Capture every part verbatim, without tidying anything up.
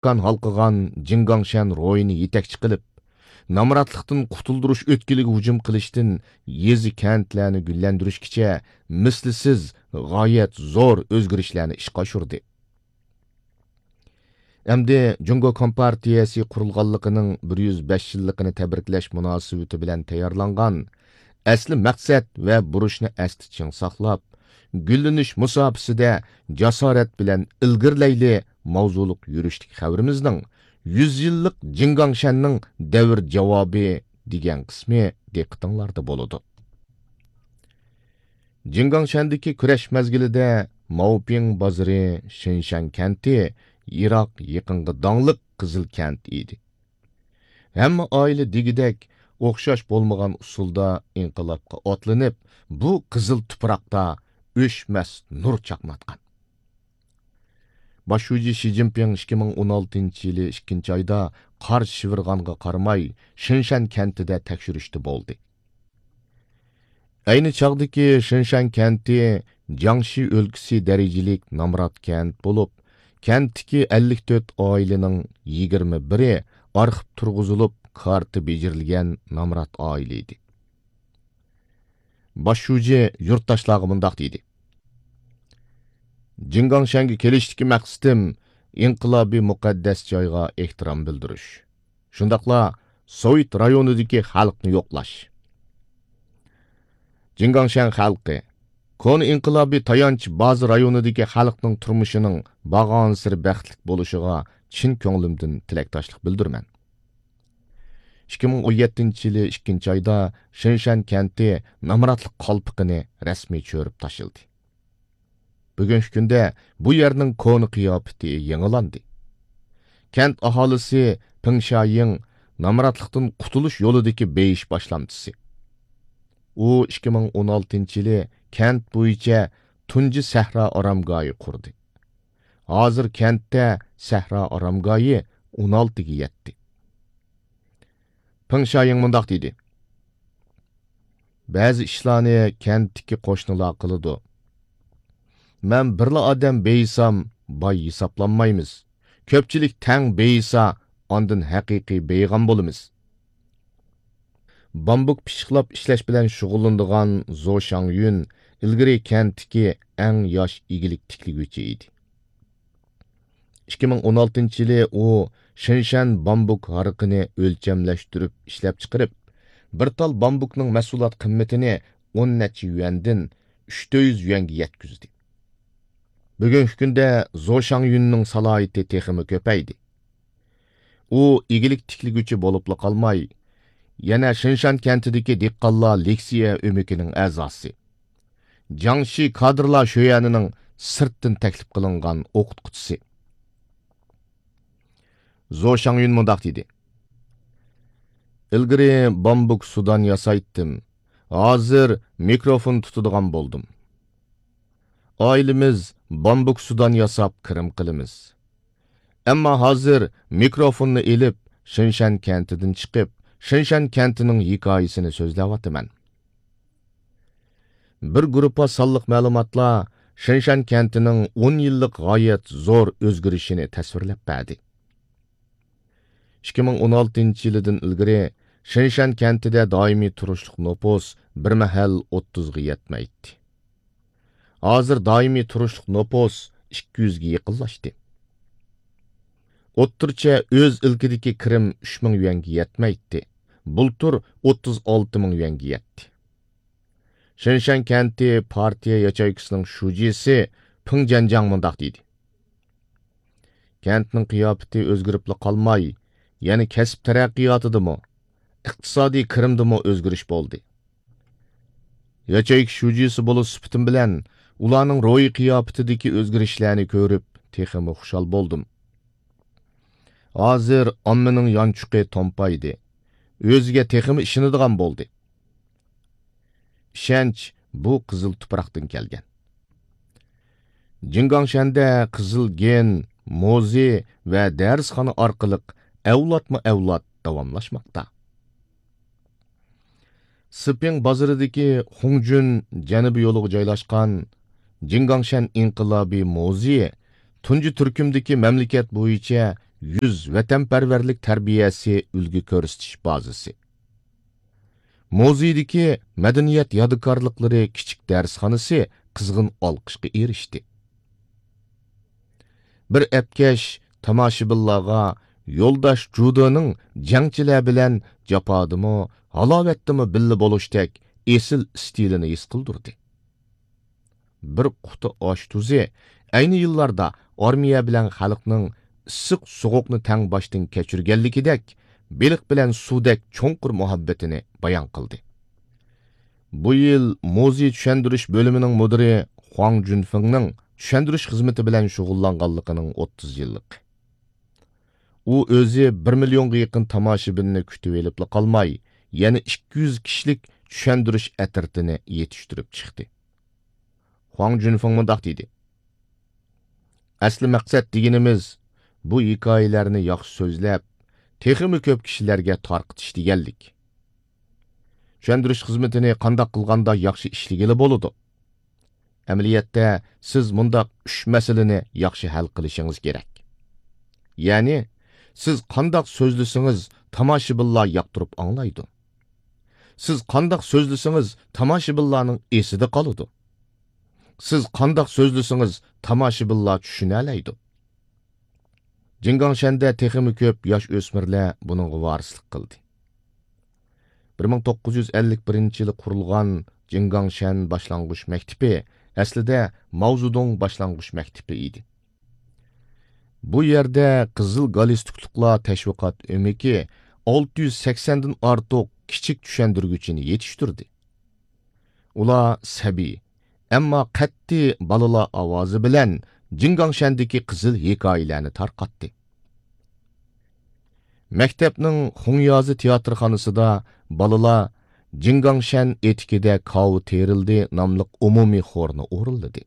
ئىمكان ھالقىغان جىڭگاڭشەن روھىنى يېتەكچى قىلىپ، نامراتلىقتىن قۇتۇلدۇرۇش ئۆتكىلىگە ھۇجۇم قىلىشتىن يېزا، كەنتلەرنى گۈللەندۈرۈشكىچە مىسلىسىز غايەت زور ئۆزگىرىشلەرنى ئىشقا ئاشۇردى. ئەمدى جۇڭگو كومپارتىيەسى قۇرۇلغانلىقىنىڭ بىر يۈز بەش يىللىقىنى تەبرىكلەش مۇناسىۋىتى بىلەن تەييارلانغان ئەسلى مەقسەت ۋە بۇرچنى ئەستە چىڭ ساقلاپ، گۈللىنىش مۇساپىسىدە جاسارەت بىلەن ئىلگىرىلەيلى ماۋزۇلۇق يۈرۈشلۈك خەۋىرىمىزنىڭ يۈز يىللىق جىڭگاڭشەننىڭ دەۋر جاۋابى دېگەن قىسمى دىققىتىڭلاردا بولىدۇ. جىڭگاڭشەندىكى كۈرەش مەزگىلىدە ماۋپىڭ بازىرى شىنشەن كەنتى يىراق يېقىنغا داڭلىق قىزىل كەنت ئىدى. ھەممە ئائىلە دېگۈدەك ئوخشاش بولمىغان ئۇسۇلدا ئىنقىلابقا ئاتلىنىپ، بۇ قىزىل تۇپراقتا ئۆچمەس نۇر چاقناتقان. باش شۇجى شى جىنپىڭ ئىككى مىڭ ئون ئالتىنچى يىلى ئىككىنچى ئايدا قار شىۋىرغانغا قارىماي، شىنشەن كەنتىدە تەكشۈرۈشتە بولدى. ئەينى چاغدىكى شىنشەن كەنتى جياڭشى ئۆلكىسى دەرىجىلىك نامرات كەنت بولۇپ، كەنتتىكى ئەللىك تۆت ئائىلىنىڭ يىگىرمە بىرى ئارخىپ تۇرغۇزۇلۇپ، كارتا بېجىرىلگەن نامرات ئائىلە ئىدى. باش شۇجى يۇرتداشلارغا مۇنداق دېدى: جىڭگاڭشەنگە كېلىشتىكى مەقسىتىم ئىنقىلابىي مۇقەددەس جايغا ئېھتىرام بىلدۈرۈش، شۇنداقلا سوۋېت رايونىدىكى خەلقنى يوقلاش. جىڭگاڭشەن خەلقى، كونا ئىنقىلابىي تايانچ بازا رايونىدىكى خەلقنىڭ تۇرمۇشىنىڭ بارغانسېرى بەختلىك بولۇشىغا چىن كۆڭلۈمدىن تىلەكداشلىق بىلدۈرىمەن. ئىككى مىڭ ئون يەتتىنچى يىلى ئىككىنچى ئايدا شىنشەن كەنتى نامراتلىق قالپىقىنى رەسمىي چۆرۈپ تاشلىدى. بۈگۈنكى كۈندە بۇ يەرنىڭ كونا قىياپىتى يېڭىلاندى. كەنت ئاھالىسى پېڭ شيايىڭ نامراتلىقتىن قۇتۇلۇش يولىدىكى بېيىش باشلامچىسى. ئۇ ئىككى مىڭ ئون ئالتىنچى يىلى كەنت بويىچە تۇنجى سەھرا ئارامگاھى قۇردى. ھازىر كەنتتە سەھرا ئارامگاھى ئون ئالتىگە يەتتى. پېڭ شيايىڭ مۇنداق دېدى: بەزى ئىشلارنى كەنتتىكى قوشنىلار قىلىدۇ. مەن بىرلا ئادەم بېيىسام، باي ھېسابلانمايمىز. كۆپچىلىك تەڭ بېيىسا، ئاندىن ھەقىقىي بېيىغان بولىمىز. بامبۇك پىششىقلاپ ئىشلەش بىلەن شۇغۇللىنىدىغان زو شاڭيۈن ئىلگىرى كەنتتىكى ئەڭ ياش ئىگىلىك تىكلىگۈچى ئىدى. ئىككى مىڭ ئون ئالتىنچى يىلى ئۇ شىنشەن بامبۇك ھارىقىنى ئۆلچەملەشتۈرۈپ ئىشلەپچىقىرىپ، بىر تال بامبۇكنىڭ مەھسۇلات قىممىتىنى ئون نەچچە يۈەندىن ئۈچ يۈز يۈەنگە يەتكۈزدى. بۈگۈنكى كۈندە زو شاڭيۈننىڭ سالاھىيىتى تېخىمۇ كۆپەيدى. ئۇ ئىگىلىك تىكلىگۈچى بولۇپلا قالماي، يەنە شىنشان كەنتىدىكى دېھقانلار لېكسىيە ئۆمىكىنىڭ ئەزاسى، جياڭشى كادىرلار شۆيەنىنىڭ سىرتتىن تەكلىپ قىلىنغان ئوقۇتقۇچىسى. زو شاڭيۈن مۇنداق دېدى: ئىلگىرى بامبۇك سۇدان ياسايتتىم، ھازىر مىكروفون تۇتىدىغان بولدۇم. ئائىلىمىز بامبۇك سۇدان ياساپ كىرىم قىلىمىز. ئەمما ھازىر مىكروفوننى ئېلىپ، شىنشەن كەنتىدىن چىقىپ، شىنشەن كەنتىنىڭ ھېكايىسىنى سۆزلەۋاتىمەن. بىر گۇرۇپپا سانلىق مەلۇماتلار شىنشەن كەنتىنىڭ ئون يىللىق غايەت زور ئۆزگىرىشىنى تەسۋىرلەپ بەردى. ئىككى مىڭ ئون ئالتىنچى يىلىدىن ئىلگىرى شىنشەن كەنتىدە دائىمىي تۇرۇشلۇق نوپۇس بىر مەھەل ئوتتۇزغا يەتمەيتتى. ھازىر دائىمىي تۇرۇشلۇق نوپۇس ئىككى يۈزگە يېقىنلاشتى. ئوتتۇرىچە ئۆز ئىلكىدىكى كىرىم ئۈچ مىڭ يۈەنگە يەتمەيتتى. بۇلتۇر ئوتتۇز ئالتە مىڭ يۈەنگە يەتتى. شىنشەن كەنتى پارتىيە ياچېيكىسىنىڭ شۇجىسى پېڭ جيەنجياڭ مۇنداق دېدى: كەنتنىڭ قىياپىتى ئۆزگىرىپلا قالماي، يەنە كەسىپ تەرەققىياتىدىمۇ، ئىقتىسادىي كىرىمدىمۇ ئۆزگىرىش بولدى. ياچېيكا شۇجىسى بولۇش سۈپىتىم بىلەن ئۇلارنىڭ روھىي قىياپىتىدىكى ئۆزگىرىشلەرنى كۆرۈپ، تېخىمۇ خۇشال بولدۇم. ھازىر ئاممىنىڭ يانچۇقى تومپايدى، ئۆزىگە تېخىمۇ ئىشىنىدىغان بولدى. ئىشەنچ بۇ قىزىل تۇپراقتىن كەلگەن. جىڭگاڭشەندە قىزىل گېن، موزېي ۋە دەرسخانا ئارقىلىق ئەۋلادمۇ ئەۋلاد داۋاملاشماقتا. سىپىڭ بازىرىدىكى خۇڭجۈن جەنۇبىي يولىغا جايلاشقان جىڭگاڭشەن ئىنقىلابىي موزېيى تۇنجى تۈركۈمدىكى مەملىكەت بويىچە يۈز ۋەتەنپەرۋەرلىك تەربىيەسى ئۈلگە كۆرسىتىش بازىسى. مۇزېيدىكى مەدەنىيەت يادىكارلىقلىرى كىچىك دەرسخانىسى قىزغىن ئالقىشقا ئېرىشتى. بىر ئەپكەش تاماشىبىنلارغا يولداش جۇدېنىڭ جەڭچىلەر بىلەن جاپادىمۇ، ھالاۋەتتىمۇ بىللە بولۇشتەك ئېسىل ئىستىلىنى ھېس قىلدۇردى. بىر قۇتا ئاش تۇزى ئەينى يىللاردا ئارمىيە بىلەن خەلقنىڭ ئىسسىق سوغۇقنى تەڭ باشتىن كەچۈرگەنلىكىدەك، بېلىق بىلەن سۇدەك چوڭقۇر مۇھەببىتىنى بايان قىلدى. بۇ يىل مۇزېي چۈشەندۈرۈش بۆلۈمىنىڭ مۇدىرى خۇاڭ جۈنفېڭنىڭ چۈشەندۈرۈش خىزمىتى بىلەن شۇغۇللانغانلىقىنىڭ ئوتتۇز يىللىقى. ئۇ ئۆزى بىر مىليونغا يېقىن تاماشىبىننى كۈتۈۋېلىپلا قالماي، يەنە ئىككى يۈز كىشىلىك چۈشەندۈرۈش ئەترىتىنى يېتىشتۈرۈپ چىقتى. خۇاڭ جۈنفېڭ مۇنداق دېدى: ئەسلى مەقسەت دېگىنىمىز، بۇ ھېكايىلەرنى ياخشى سۆزلەپ، تېخىمۇ كۆپ كىشىلەرگە تارقىتىش دېگەنلىك. چۈشەندۈرۈش خىزمىتىنى قانداق قىلغاندا ياخشى ئىشلىگىلى بولىدۇ؟ ئەمەلىيەتتە، سىز مۇنداق ئۈچ مەسىلىنى ياخشى ھەل قىلىشىڭىز كېرەك. يەنى، سىز قانداق سۆزلىسىڭىز، تاماشىبىنلار ياقتۇرۇپ ئاڭلايدۇ. سىز قانداق سۆزلىسىڭىز، تاماشىبىنلارنىڭ ئېسىدە قالىدۇ. سىز قانداق سۆزلىسىڭىز، تاماشىبىنلار چۈشىنەلەيدۇ. جىڭگاڭشەندە تېخىمۇ كۆپ ياش ئۆسمۈرلەر بۇنىڭغا ۋارىسلىق قىلدى. بىر مىڭ توققۇز يۈز ئەللىك بىرىنچى يىلى قۇرۇلغان جىڭگاڭشەن باشلانغۇچ مەكتىپى ئەسلىدە ماۋزېدۇڭ باشلانغۇچ مەكتىپى ئىدى. بۇ يەردە قىزىل گالستۇكلۇقلار تەشۋىقات ئۆمىكى ئالتە يۈز سەكسەندىن ئارتۇق كىچىك چۈشەندۈرگۈچىنى يېتىشتۈردى. ئۇلار سەبىي، ئەمما قەتئىي بالىلار ئاۋازى بىلەن جىڭگاڭشەندىكى قىزىل ھېكايىلەرنى تارقاتتى. مەكتەپنىڭ خۇڭيازى تىياتىرخانىسىدا بالىلار جىڭگاڭشەن ئېتىكىدە كاۋا تېرىلدى ناملىق ئومۇمىي خورنى ئورۇنلىدى.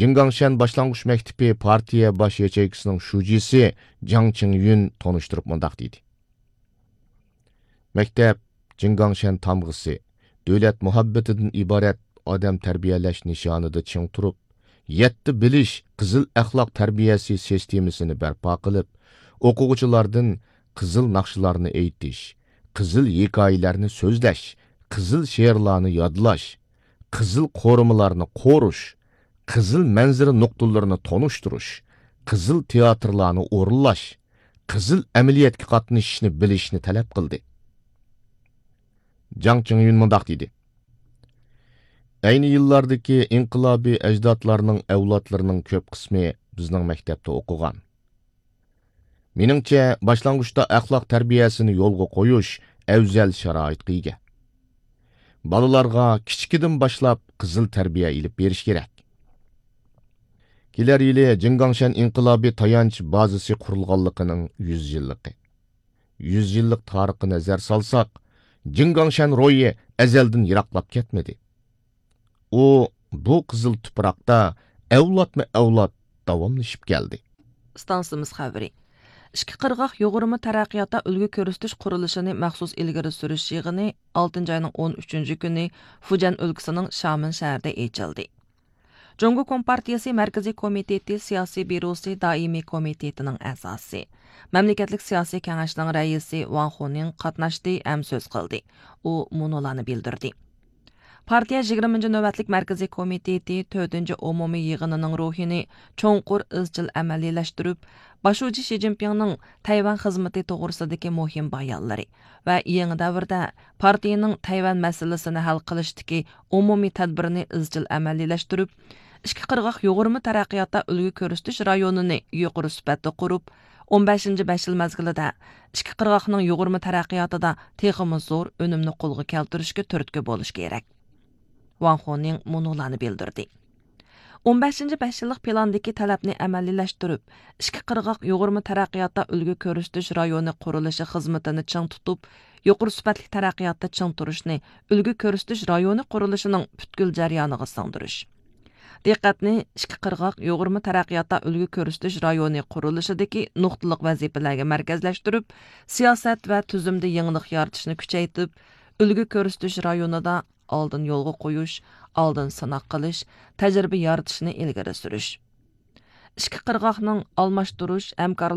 جىڭگاڭشەن باشلانغۇچ مەكتىپى پارتىيە باش ياچېيكىسىنىڭ شۇجىسى جاڭ چىڭيۈن تونۇشتۇرۇپ مۇنداق دېدى: مەكتەپ جىڭگاڭشەن تامغىسى، دۆلەت مۇھەببىتىدىن ئىبارەت ئادەم تەربىيەلەش نىشانىدا چىڭ تۇرۇپ، يەتتە بىلىش قىزىل ئەخلاق تەربىيەسى سىستېمىسىنى بەرپا قىلىپ، ئوقۇغۇچىلاردىن قىزىل ناخشىلارنى ئېيتىش، قىزىل ھېكايىلەرنى سۆزلەش، قىزىل شېئىرلارنى يادلاش، قىزىل قورۇمىلارنى قورۇش، قىزىل مەنزىرە نۇقتىلىرىنى تونۇشتۇرۇش، قىزىل تىياتىرلارنى ئورۇنلاش، قىزىل ئەمەلىيەتكە قاتنىشىشنى بىلىشنى تەلەپ قىلدى. جاڭ چىڭيۈن مۇنداق دېدى: ئەينى يىللاردىكى ئىنقىلابىي ئەجدادلارنىڭ ئەۋلادلىرىنىڭ كۆپ قىسمى بىزنىڭ مەكتەپتە ئوقۇغان. مېنىڭچە، باشلانغۇچتا ئەخلاق تەربىيەسىنى يولغا قويۇش ئەۋزەل شارائىتقا ئىگە. بالىلارغا كىچىكىدىن باشلاپ قىزىل تەربىيە ئېلىپ بېرىش كېرەك. كېلەر يىلى جىڭگاڭشەن ئىنقىلابىي تايانچ بازىسى قۇرۇلغانلىقىنىڭ يۈز يىللىقى. يۈز يىللىق تارىخقا نەزەر سالساق، جىڭگاڭشەن روھى ئەزەلدىن يىراقلاپ كەتمىدى. ئۇ بۇ قىزىل تۇپراقتا ئەۋلادمۇ ئەۋلاد داۋاملىشىپ كەلدى. ئىستانسىمىز خەۋىرى. ئىككى قىرغاق يۇغۇرما تەرەققىياتتا ئۈلگە كۆرسىتىش قۇرۇلۇشىنى مەخسۇس ئىلگىرى سۈرۈش يىغىنى ئالتىنچى ئاينىڭ ئون ئۈچىنچى كۈنى فۇجيەن ئۆلكىسىنىڭ شامېن شەھىرىدە ئېچىلدى. جۇڭگو كومپارتىيىسى مەركىزىي كومىتېتى سىياسىي بيۇروسى دائىمىي كومىتېتىنىڭ ئەزاسى، مەملىكەتلىك سىياسىي كېڭەشنىڭ رەئىسى ۋاڭ خۇنىڭ قاتناشتى ھەم سۆز قىلدى. ئۇ مۇنۇلارنى بىلدۈردى. پارتىيە يىگىرمىنچى نۆۋەتلىك مەركىزىي كومىتېتى تۆتىنچى ئومۇمىي يىغىنىنىڭ روھىنى چوڭقۇر ئىزچىل ئەمەلىيلەشتۈرۈپ، باش شۇجى شى جىنپىڭنىڭ تەيۋەن خىزمىتى توغرىسىدىكى مۇھىم بايانلىرى ۋە يېڭى دەۋردە پارتىيىنىڭ تەيۋەن مەسىلىسىنى ھەل قىلىشتىكى ئومۇمىي تەدبىرىنى ئىزچىل ئەمەلىيلەشتۈرۈپ، ئىككى قىرغاق يۇغۇرما تەرەققىياتتا ئۈلگە كۆرسىتىش رايونىنى يۇقىرى سۈپەتتە قۇرۇپ، ئون بەشىنچى بەش يىل مەزگىلىدە ئىككى قىرغاقنىڭ يۇغۇرما تەرەققىياتىدا تېخىمۇ زور ئۈنۈمنى قولغا كەلتۈرۈشكە تۈرتكە بولۇش كېرەك. ۋاڭ خۇنىڭ مۇنۇلارنى بىلدۈردى. ئون بەشىنچى بەش يىللىق پىلاندىكى تەلەپنى ئەمەلىيلەشتۈرۈپ، ئىككى قىرغاق يۇغۇرما تەرەققىياتتا ئۈلگە كۆرسىتىش رايونى قۇرۇلۇشى خىزمىتىنى چىڭ تۇتۇپ، يۇقىرى سۈپەتلىك تەرەققىياتتا چىڭ تۇرۇشنى ئۈلگە كۆرسىتىش رايونى قۇرۇلۇشىنىڭ پۈتكۈل جەريانىغا سىڭدۈرۈش. دىققەتنى ئىككى قىرغاق يۇغۇرما تەرەققىياتتا ئۈلگە كۆرسىتىش رايونى قۇرۇلۇشىدىكى نۇقتىلىق ۋەزىپىلەرگە مەركەزلەشتۈرۈپ، سىياسەت ۋە تۈزۈمدە يېڭىلىق يارىتىشنى كۈچەيتىپ، ئۈلگە كۆرسىتىش رايونىدا ئالدىن يولغا قويۇش، ئالدىن سىناق قىلىش، تەجرىبە يارىتىشنى ئىلگىرى سۈرۈش. ئىككى قىرغاقنىڭ ئالماشتۇرۇش ھەمكارلىق